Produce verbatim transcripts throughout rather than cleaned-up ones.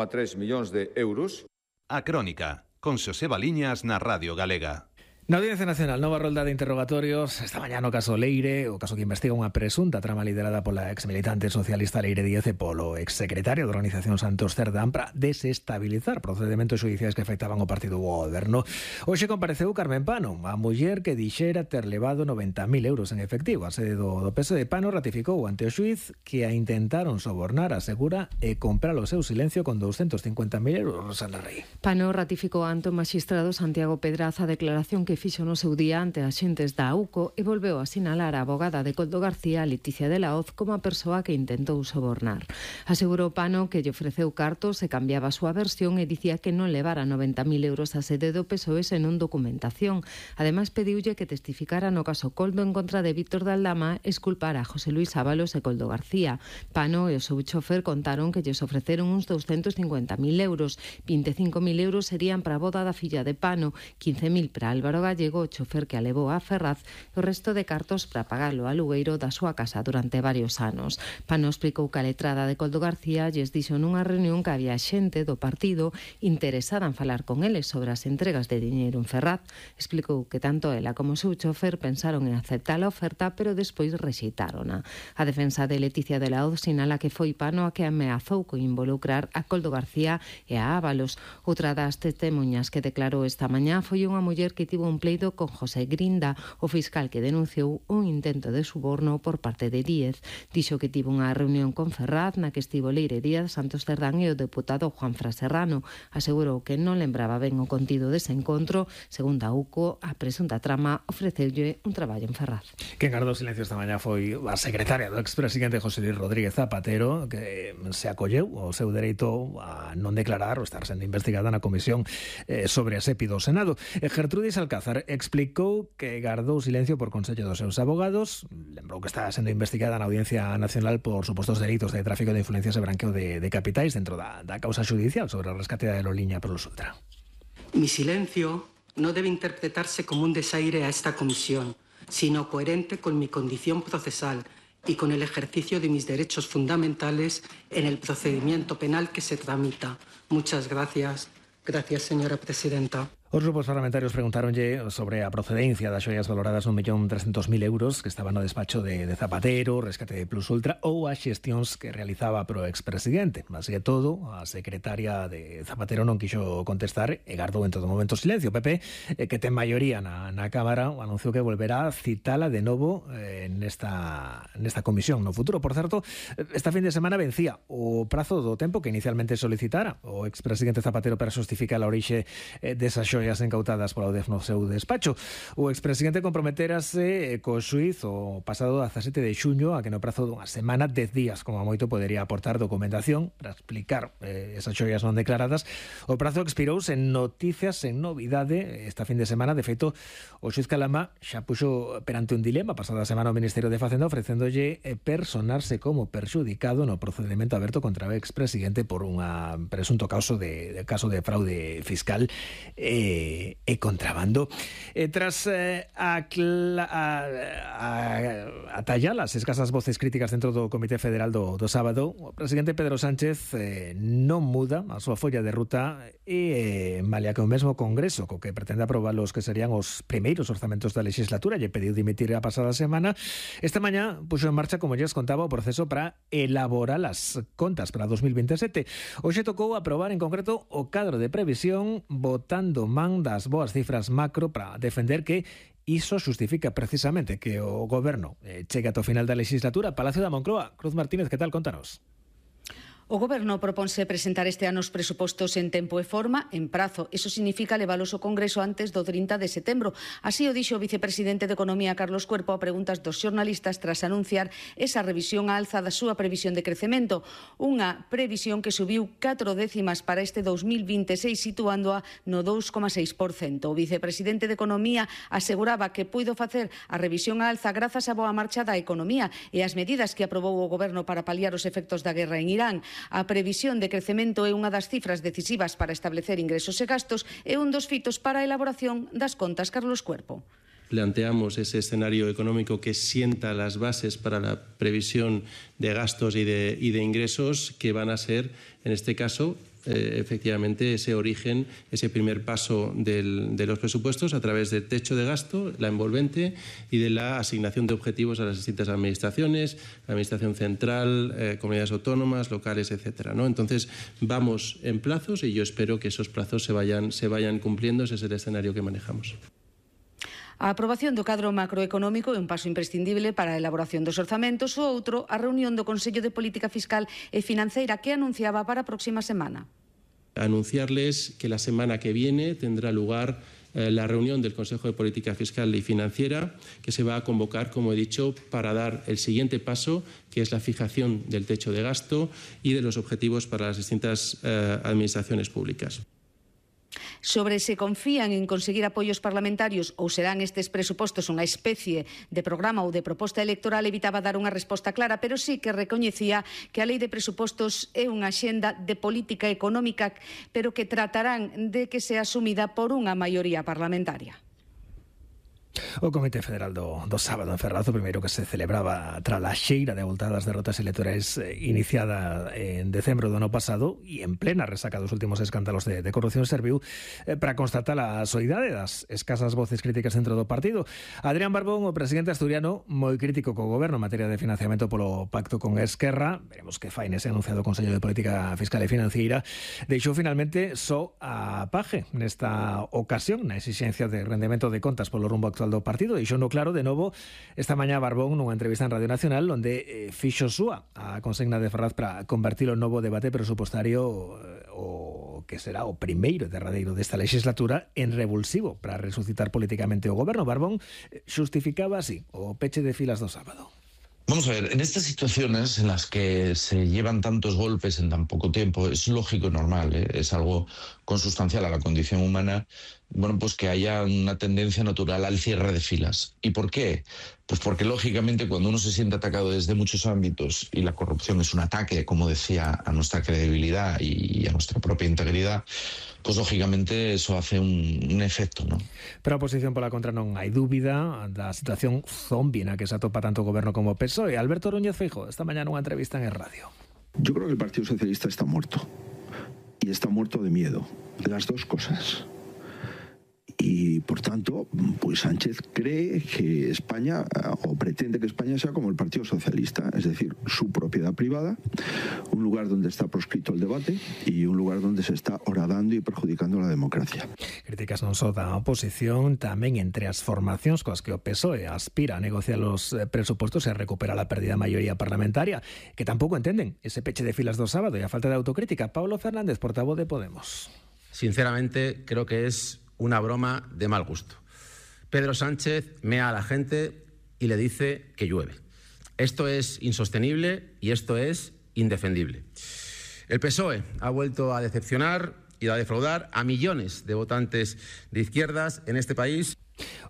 tres millóns de euros. A Crónica, con Xosé Baliñas na Radio Galega. Na Audiencia Nacional, nova rolda de interrogatorios esta mañá no caso Leire, o caso que investiga unha presunta trama liderada pola exmilitante socialista Leire Díaz e polo exsecretario da Organización Santos Cerdán para desestabilizar procedementos xudiciais que afectaban o partido do goberno. Hoxe compareceu Carmen Pano, a muller que dixera ter levado noventa mil euros en efectivo. A sede do, do P S de Pano ratificou ante o xuiz que a intentaron sobornar, asegura, e comprar o seu silencio con doscientos cincuenta mil euros. Rosana Rey. Pano ratificou ante o magistrado Santiago Pedraza a declaración que fixo no seu día ante axentes da A U C O e volveu a sinalar a abogada de Coldo García, Leticia de la Hoz, como a persoa que intentou sobornar. Asegurou Pano que lle ofreceu cartos e cambiaba a súa versión e dicía que non levara noventa mil euros a sede do P S O E senón documentación. Ademais, pediulle que testificara no caso Coldo en contra de Víctor de Aldama e esculpara a José Luis Ábalos e Coldo García. Pano e o seu chofer contaron que lles ofreceron uns doscientos cincuenta mil euros. veinticinco mil euros serían para a boda da filla de Pano, quince mil para Álvaro Gallego, o chofer que a levou a Ferraz, e o resto de cartos para pagar o alugueiro da súa casa durante varios anos. Pano explicou que a letrada de Coldo García lles dixo nunha reunión que había xente do partido interesada en falar con eles sobre as entregas de diñeiro en Ferraz. Explicou que tanto ela como o seu chofer pensaron en aceptar a oferta, pero despois rexeitárona. A defensa de Leticia de la Hoz sinala que foi Pano a que ameazou con involucrar a Coldo García e a Ábalos. Outra das testemunhas que declarou esta mañá foi unha muller que tivo un pleito con José Grinda, o fiscal que denunciou un intento de suborno por parte de Díez. Dixo que tivo unha reunión con Ferraz na que estivo Leire Díaz, Santos Cerdán e o deputado Juanfran Serrano. Asegurou que non lembraba ben o contido dese encontro. Segundo a U C O, a presunta trama ofreceulle un traballo en Ferraz. Quen gardou silencio esta mañá foi a secretaria do expresidente José Luis Rodríguez Zapatero, que se acolleu o seu dereito a non declarar ou estar sendo investigada na comisión eh, sobre a SEPI do Senado. E Gertrudis Alcázar explicou que gardou silencio por consello dos seus abogados. Lembrou que está sendo investigada na Audiencia Nacional por supostos delitos de tráfico de influencias e branqueo de, de capitais dentro da, da causa judicial sobre o rescate da aerolínea Plus Ultra. Mi silencio no debe interpretarse como un desaire a esta comisión, sino coherente con mi condición procesal y con el ejercicio de mis derechos fundamentales en el procedimiento penal que se tramita. Muchas gracias. Gracias, señora presidenta. Os grupos parlamentarios preguntaronlle sobre a procedencia das xoias valoradas un millón trescentos mil euros que estaban no despacho de, de Zapatero, rescate de Plus Ultra ou as xestións que realizaba pro expresidente. Así que todo, a secretaria de Zapatero non quixo contestar e gardou en todo momento silencio. Pepe, eh, que ten maioría na, na Cámara, anunciou que volverá a citala de novo eh, nesta, nesta comisión no futuro. Por certo, esta fin de semana vencía o prazo do tempo que inicialmente solicitara o expresidente Zapatero para justificar a orixe eh, desas xoias incautadas pola U D E F no seu despacho. O expresidente comprometerase co xuiz o pasado dezasete de xuño a que no prazo dunha semana, dez días como a moito, podería aportar documentación para explicar eh, esas xoias non declaradas. O prazo expirouse en noticias, en novidade esta fin de semana. De feito, o xuiz Calama xa puxo perante un dilema pasada semana o Ministerio de Facenda ofrecéndolle personarse como perxudicado no procedimento aberto contra o expresidente por un presunto caso de, de caso de fraude fiscal e E, e contrabando. E tras eh, a, a, a, a tallar as escasas voces críticas dentro do Comité Federal do, do sábado, o presidente Pedro Sánchez eh, non muda a súa folla de ruta e eh, malia que o mesmo Congreso co que pretende aprobar os que serían os primeiros orzamentos da legislatura lle pediu dimitir a pasada semana, esta mañá puxo en marcha, como lles contaba, o proceso para elaborar as contas para dos mil veintisiete. Hoxe tocou aprobar en concreto o cadro de previsión, votando man das boas cifras macro para defender que iso xustifica precisamente que o goberno eh, chegue ata o final da legislatura. Palacio da Moncloa, Cruz Martínez, que tal? Contanos. O Goberno proponse presentar este ano os presupostos en tempo e forma, en prazo. Iso significa levalos ao Congreso antes do trinta de setembro. Así o dixo o vicepresidente de Economía, Carlos Cuerpo, a preguntas dos xornalistas tras anunciar esa revisión á alza da súa previsión de crecemento. Unha previsión que subiu catro décimas para este dos mil veintiséis, situándoa no dous coma seis por cento. O vicepresidente de Economía aseguraba que puido facer a revisión á alza grazas á boa marcha da economía e as medidas que aprobou o Goberno para paliar os efectos da guerra en Irán. A previsión de crecemento é unha das cifras decisivas para establecer ingresos e gastos e un dos fitos para a elaboración das contas. Carlos Cuerpo. Planteamos ese escenario económico que sienta las bases para la previsión de gastos y de, y de ingresos que van a ser, en este caso, eh, efectivamente ese origen, ese primer paso del, de los presupuestos a través del techo de gasto, la envolvente y de la asignación de objetivos a las distintas administraciones, la Administración Central, eh, comunidades autónomas, locales, etcétera, ¿no? Entonces, vamos en plazos y yo espero que esos plazos se vayan, se vayan cumpliendo. Ese es el escenario que manejamos. A aprobación do cadro macroeconómico é un paso imprescindible para a elaboración dos orzamentos. O outro, a reunión do Consello de Política Fiscal e Financeira que anunciaba para a próxima semana. Anunciarles que la semana que viene tendrá lugar eh, la reunión del Consejo de Política Fiscal y Financiera, que se va a convocar, como he dicho, para dar el siguiente paso, que es la fijación del techo de gasto y de los objetivos para las distintas eh, administraciones públicas. Sobre se confían en conseguir apoios parlamentarios ou serán estes presupostos unha especie de programa ou de proposta electoral, evitaba dar unha resposta clara, pero sí que recoñecía que a lei de presupostos é unha axenda de política económica, pero que tratarán de que sea asumida por unha maioría parlamentaria. O Comité Federal do, do sábado en Ferrazo, primeiro que se celebraba tras a xeira de avultadas derrotas electorais eh, iniciada en decembro do ano pasado e en plena resaca dos últimos escándalos de, de corrupción, serviu eh, para constatar a soidade das escasas voces críticas dentro do partido. Adrián Barbón, o presidente asturiano, moi crítico co goberno en materia de financiamento polo pacto con Esquerra, veremos que fai nese anunciado Consello de Política Fiscal e Financiera, deixou finalmente só a paje nesta ocasión na exigencia de rendemento de contas polo rumbo actual do partido. Deixou no claro de novo esta mañá Barbón nunha entrevista en Radio Nacional onde eh, fixo súa a consigna de Ferraz para convertir o novo debate presupostario eh, o que será o primeiro derradeiro desta legislatura en revulsivo para resucitar políticamente o goberno. Barbón eh, xustificaba así o peche de filas do sábado. Vamos a ver, en estas situaciones en las que se llevan tantos golpes en tan poco tiempo, es lógico y normal, ¿eh? Es algo consustancial a la condición humana, bueno, pues que haya una tendencia natural al cierre de filas. ¿Y por qué? Pues porque lógicamente cuando uno se siente atacado desde muchos ámbitos y la corrupción es un ataque, como decía, a nuestra credibilidad y a nuestra propia integridad, pues lógicamente eso hace un, un efecto, ¿no? Pero a oposición pola contra non hai dúbida da situación zombie na que se atopa tanto o goberno como o P S O E. Alberto Núñez Feijóo, esta mañá nunha entrevista en el radio. Yo creo que el Partido Socialista está muerto. Y está muerto de miedo. Las dos cosas. Y por tanto, pues Sánchez cree que España, o pretende que España sea como el Partido Socialista, es decir, su propiedad privada, un lugar donde está proscrito el debate y un lugar donde se está horadando y perjudicando la democracia. Críticas non só da oposición, tamén entre as formacións coas que o P S O E aspira a negociar os presupostos e a recuperar a perdida maioría parlamentaria, que tampouco entenden ese peche de filas do sábado e a falta de autocrítica. Pablo Fernández, portavoz de Podemos. Sinceramente, creo que es una broma de mal gusto. Pedro Sánchez mea a la gente y le dice que llueve. Esto es insostenible y esto es indefendible. El P S O E ha vuelto a decepcionar y a defraudar a millones de votantes de izquierdas en este país.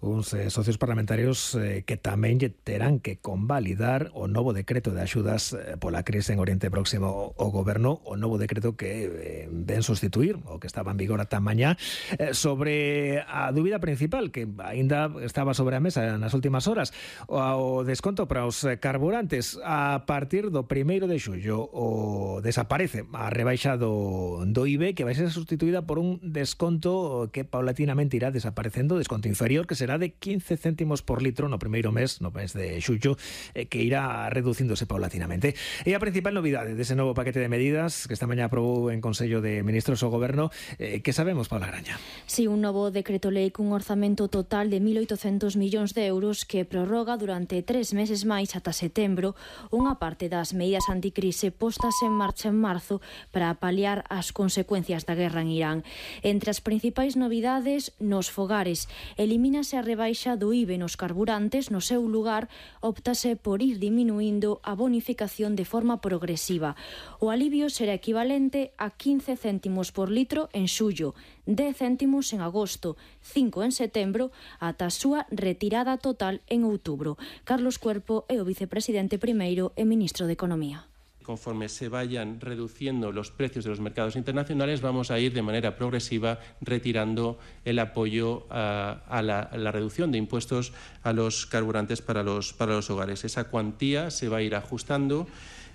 Uns eh, socios parlamentarios eh, que tamén lle terán que convalidar o novo decreto de axudas eh, pola crise en Oriente Próximo o goberno, o novo decreto que eh, ven sustituir o que estaba en vigor ata mañá, eh, sobre a dúbida principal que aínda estaba sobre a mesa nas últimas horas, o, o desconto para os carburantes. A partir do primeiro de xullo o desaparece a rebaixa do, do I V E, que vai ser sustituída por un desconto que paulatinamente irá desaparecendo, desconto inferior, que será de quince céntimos por litro no primeiro mes, no mes de xullo, eh, que irá reducíndose paulatinamente. E a principal novidade dese novo paquete de medidas que esta mañá aprobou en Consello de Ministros o Goberno, eh, que sabemos, Paula Graña? Si, un novo decreto lei cun orzamento total de mil oitocentos millóns de euros que prorroga durante tres meses máis ata setembro unha parte das medidas anticrise postas en marcha en marzo para paliar as consecuencias da guerra en Irán. Entre as principais novidades, nos fogares, elimínase a rebaixa do I V E nos carburantes, no seu lugar optase por ir diminuindo a bonificación de forma progresiva. O alivio será equivalente a quince céntimos por litro en xullo, dez céntimos en agosto, cinco en setembro, ata a súa retirada total en outubro. Carlos Cuerpo é o vicepresidente primeiro e ministro de Economía. Conforme se vayan reduciendo los precios de los mercados internacionales, vamos a ir de manera progresiva retirando el apoyo a, a, la, a la reducción de impuestos a los carburantes para los, para los hogares. Esa cuantía se va a ir ajustando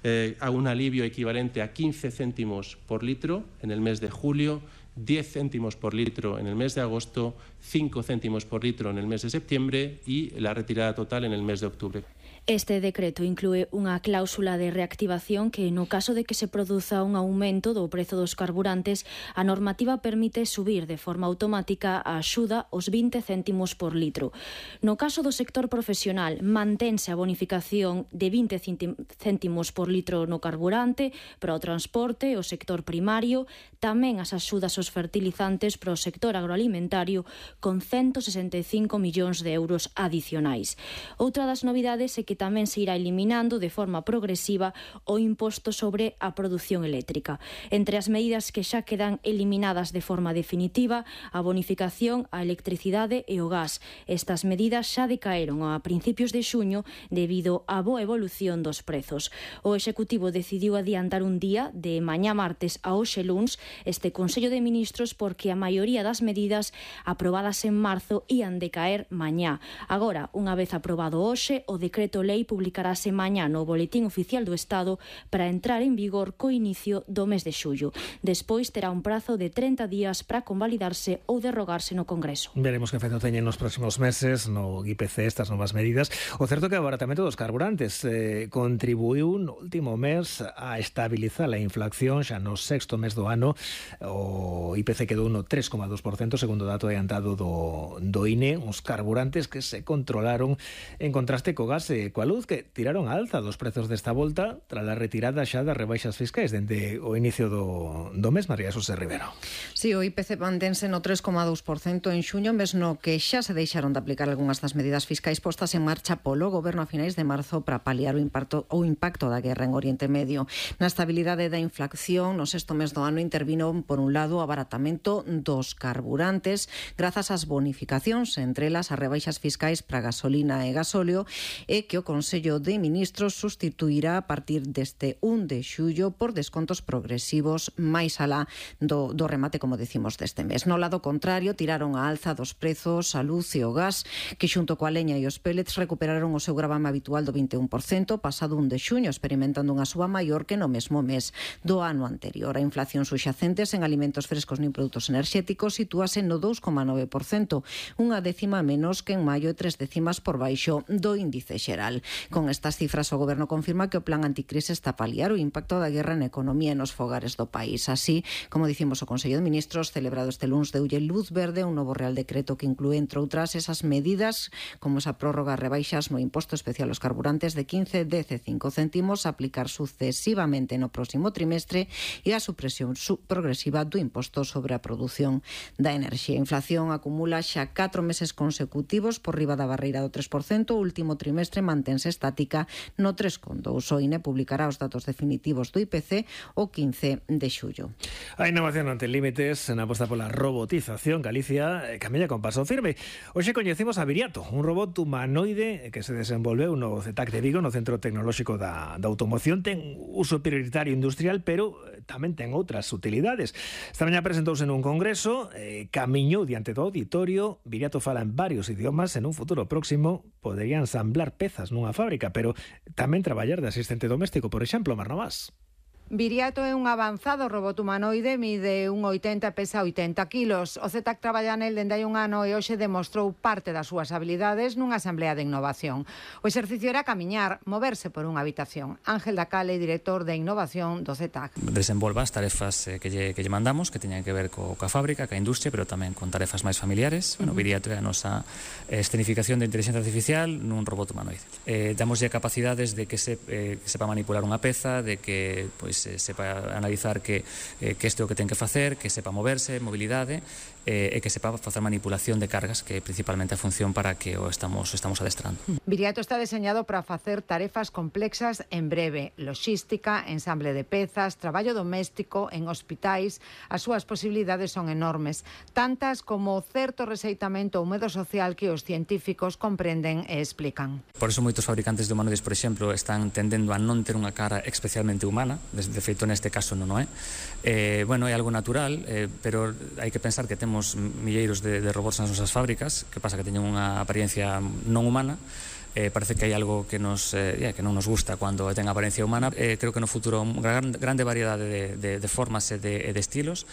eh, a un alivio equivalente a quince céntimos por litro en el mes de julio, diez céntimos por litro en el mes de agosto, cinco céntimos por litro en el mes de septiembre y la retirada total en el mes de octubre. Este decreto inclúe unha cláusula de reactivación que, no caso de que se produza un aumento do prezo dos carburantes, a normativa permite subir de forma automática a axuda os vinte céntimos por litro. No caso do sector profesional, mantense a bonificación de vinte céntimos por litro no carburante para o transporte e o sector primario, tamén as axudas aos fertilizantes para o sector agroalimentario con ciento sesenta e cinco millóns de euros adicionais. Outra das novidades é que tamén se irá eliminando de forma progresiva o imposto sobre a produción eléctrica. Entre as medidas que xa quedan eliminadas de forma definitiva, a bonificación á electricidade e o gas. Estas medidas xa decaeron a principios de xuño debido á boa evolución dos prezos. O Executivo decidiu adiantar un día de mañá martes a hoxe luns este Consello de Ministros porque a maioría das medidas aprobadas en marzo ían decaer mañá. Agora, unha vez aprobado hoxe, o decreto lei publicarase mañá no Boletín Oficial do Estado para entrar en vigor co inicio do mes de xullo. Despois terá un prazo de trinta días para convalidarse ou derrogarse no Congreso. Veremos que efecto teñen nos próximos meses no I P C estas novas medidas. O certo é que o abaratamento dos carburantes eh, contribuiu no último mes a estabilizar a inflación xa no sexto mes do ano. O I P C quedou no tres coma dos por cento, segundo o dato adiantado do, do I N E, uns carburantes que se controlaron en contraste co gas e coa luz, que tiraron a alza dos prezos desta volta tras a retirada xa das rebaixas fiscais dende o inicio do, do mes. María Xosé Rivero. Si, sí, o I P C mantense no tres coma dos por cento en xuño, mes no que xa se deixaron de aplicar algunhas das medidas fiscais postas en marcha polo Goberno a finais de marzo para paliar o impacto, o impacto da guerra en Oriente Medio. Na estabilidade da inflación, no sexto mes do ano intervino, por un lado, o abaratamento dos carburantes grazas ás bonificacións, entre elas as rebaixas fiscais para gasolina e gasóleo, e que o Consello de Ministros sustituirá a partir deste un de xullo por descontos progresivos máis alá do, do remate, como decimos, deste mes. No lado contrario, tiraron a alza dos prezos a luz e o gas, que xunto coa leña e os pellets recuperaron o seu gravame habitual do vinte e un por cento pasado un de xuño, experimentando unha suba maior que no mesmo mes do ano anterior. A inflación suxacente en alimentos frescos nin produtos enerxéticos sitúase no dous coma nove por cento, unha décima menos que en maio e tres décimas por baixo do índice xeral. Con estas cifras, o Goberno confirma que o plan anticrise está a paliar o impacto da guerra na economía e nos fogares do país. Así, como dicimos, o Consello de Ministros, celebrado este luns, deulle luz verde un novo Real Decreto que inclúe, entre outras, esas medidas como esa prórroga rebaixas no imposto especial aos carburantes de quince, dez e cinco céntimos a aplicar sucesivamente no próximo trimestre e a supresión progresiva do imposto sobre a produción da enerxía. A inflación acumula xa catro meses consecutivos por riba da barreira do tres por cento. O último trimestre mantense estática no tres coma dous. O I N E publicará os datos definitivos do I P C o quince de xullo. A innovación non ten límites na aposta pola robotización. Galicia camella con paso firme. Hoxe coñecemos a Viriato, un robot humanoide que se desenvolveu no C E T A C de Vigo, no Centro Tecnolóxico da, da Automoción. Ten uso prioritario industrial, pero tamén ten outras utilidades. Esta mañá presentouse nun congreso, eh, camiñou diante do auditorio. Viriato fala en varios idiomas. En un futuro próximo podería ensamblar pezas nunha fábrica, pero tamén traballar de asistente doméstico, por exemplo. Marnomás. Viriato é un avanzado robot humanoide, mide un oitenta, pesa oitenta kilos. O C E T A C traballa nel dende hai un ano e hoxe demostrou parte das súas habilidades nunha asamblea de innovación. O exercicio era camiñar, moverse por unha habitación. Ángel Dacale, director de innovación do C E T A C. Desenvolva as tarefas que lle, que lle mandamos, que teñan que ver co, coa fábrica, coa industria, pero tamén con tarefas máis familiares. Bueno, Viriato é a nosa escenificación de inteligencia artificial nun robot humanoide. Eh, damoslle capacidades de que, se, eh, que sepa manipular unha peza, de que pois, se sepa analizar que, eh, que este é o que ten que facer, que sepa moverse, mobilidade, eh, e que sepa facer manipulación de cargas, que é principalmente a función para que o estamos, estamos adestrando. Viriato está deseñado para facer tarefas complexas en breve: loxística, ensamble de pezas, traballo doméstico en hospitais. As súas posibilidades son enormes, tantas como certo rexeitamento ou medo social que os científicos comprenden e explican. Por eso moitos fabricantes de humanoides, por exemplo, están tendendo a non ter unha cara especialmente humana. De feito, neste caso non o é. Eh, bueno, é algo natural, eh, pero hai que pensar que temos milleiros de, de robots nas nosas fábricas, que pasa que teñen unha apariencia non humana, eh, parece que hai algo que nos eh, yeah, que non nos gusta cando ten apariencia humana. Eh, creo que no futuro unha gran, grande variedade de, de, de formas e de, de estilos,